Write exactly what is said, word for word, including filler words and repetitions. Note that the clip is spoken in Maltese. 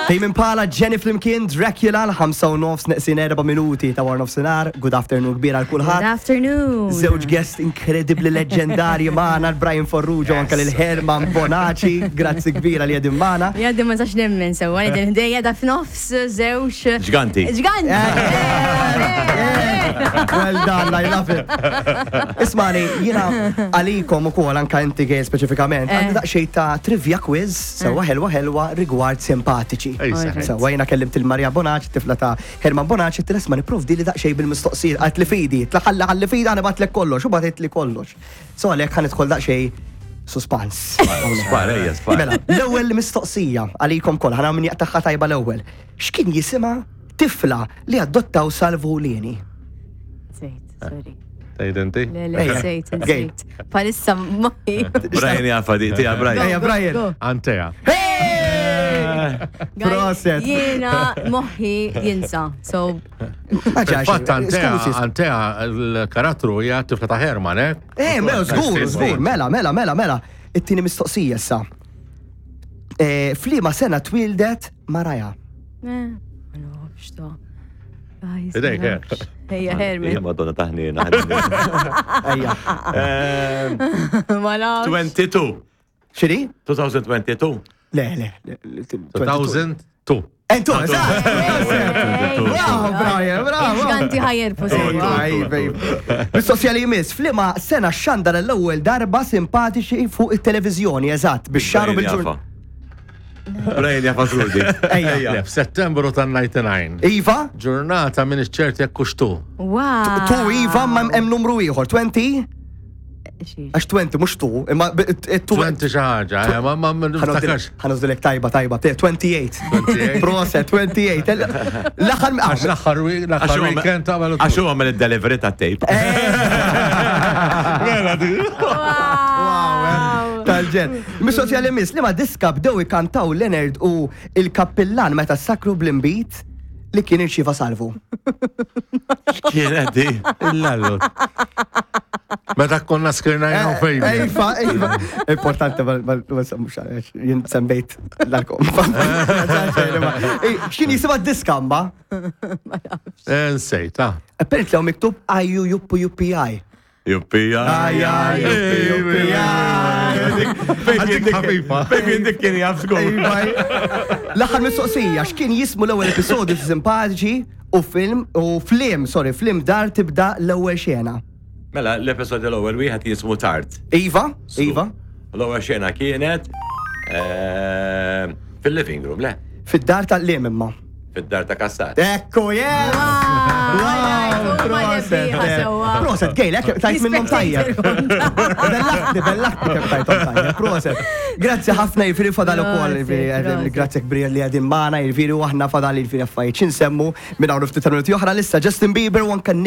Tame Impala, Jenny flimkien, Dracula, l-ħamsa u nofs neqsin erba' minuti ta' wara nofsinhar. Good afternoon kbira għal Good kulħadd. Afternoon. Żewġ guest incredibly leġendarji magħna, l-Brian Farrugia u anke lil Herman Bonaci. Grazzi kbira li qegħdin magħna. Jaddi ma sax nemmen sewa, li din ħdejja da f'nofs żewġ. Ġganti. Ġganti! Well done, I love it. Ismani, jiena għalikom u kol anka inti, Gail, speċifikament, għandi daqxej ta' trivia quiz, sewa ħelwa ħelwa rigward Simpatiċi. Ej, seħ. Sewa jiena kellimt il-Maria Bonaci, tifla ta' Herman Bonaci, t-isma niprovdi li daqxej bil-mistoqsijiet, għat li fidi, tlaħalla għalli fidi għana batlek kollox, u batit li kollox. So għalek ħa nidħol daqxej suspans. Spara, ejja, spara. Mela, l-ewwel mistoqsija għalikom kollha, ħana min jaqtaħħa tajba l-ewwel. X'kien jisimha tifla li adottaw Salvu Lini? Sejt, sorry. Tgħid inti? Le, le, Ejja. sejt, Gail. sejt. Palissa moħi. Brian jafa di, tija Brian. Ejja, Brian. Go. Antea. Hey! Proset. Jiena moħi jinsa. So, Ma ġax, Fatt Antea, skużi. Antea, il-karattru hija tifla ta' Herman, eh? Eh, mela, żgur, żgur, mela, mela, mela, mela. It-tieni mistoqsija issa. Eh, F'liema sena twildet Maraja? eh, ma nafx ta. Guys, ma Idejk, eh. nafx. Ejja, Ija, Herman. Madonna taħnina. Ejja. Ma nafx. twenty-two. Xiri? twenty twenty-two. Le, le. le, le, two thousand two. Entu, eżatt! Bravo, Brian, bravo! Ġganti ħajer sewa. Aj, babe. Mistoqsija li jmiss, f'liema sena xandar l-ewwel darba Simpatiċi fuq it-televiżjoni, eżatt, bix-xahar u bil-ġurnata? Brian jafa żgur. Ejja. Le, f'Settembru tan-disgħa u disgħin. Iva, Ġurnata minn ċert jekk hux tu. Wow. Tu iva, ma hemm numru ieħor, għoxrin? Xiex. Għax għoxrin mhux tu, imma b- it- tu. għoxrin xi ħaġa, eh, ma ma ma niftakarx. Ħa nużdilek tajba, tajba, te- twenty-eight. twenty-eight. Proset, twenty-eight. L-aħħar Għax l-aħħar wi- l-aħħar weekend tagħmel Għax huwa għamel il-delivery ta' tape. Mela di. Wow. Tal-ġen. Mistoqsija li miss, li ma diska bdew ikantaw Leonard u il-kappillan meta sakru bl-imbit li kien irċiva Salvu? Kienet di. Il-lallu. Meta konna skirna jgħu fejn. Ejfa, ejfa. Importanti, ma ma- ma semmux għaliex, jien semmejt l-alkom. X'kien jisimha diska mba? Nsejt, ah. Apparently hawn miktub I U U P U P I. Juppi, Aj, aj, juppi, juppi, aj. Għadik ħafifa. Fejn dik kien jaf żgur. L-aħħar mistoqsija, x'kien jismu l-ewwel episodju Simpatiċi u film u flim, sorry, flim dar tibda l-ewwel xena? Mela, l-episodju l-ewwel wieħed jismu Tard. Iva, Iva, L-ewwel xena kienet eh, fil-living room, le, fid-dar tal-lim imma. Fid-dar ta' Kassar. Ekku, yeah! Wow, Proset, eh. Proset, Gail, ekk tajt minnhom tajjeb. Bellaħtni, bellaħtni kemm tajthom tajjeb. Proset. Grazzi ħafna, jiġifieri fadal ukoll, jiġifieri, Proset, proset. grazzi kbir li qegħdin magħna, jiġifieri u aħna fadal jiġifieri affarijiet x'insemmu minn hawn ftit minuti oħra lissa Justin Bieber u anke Nicki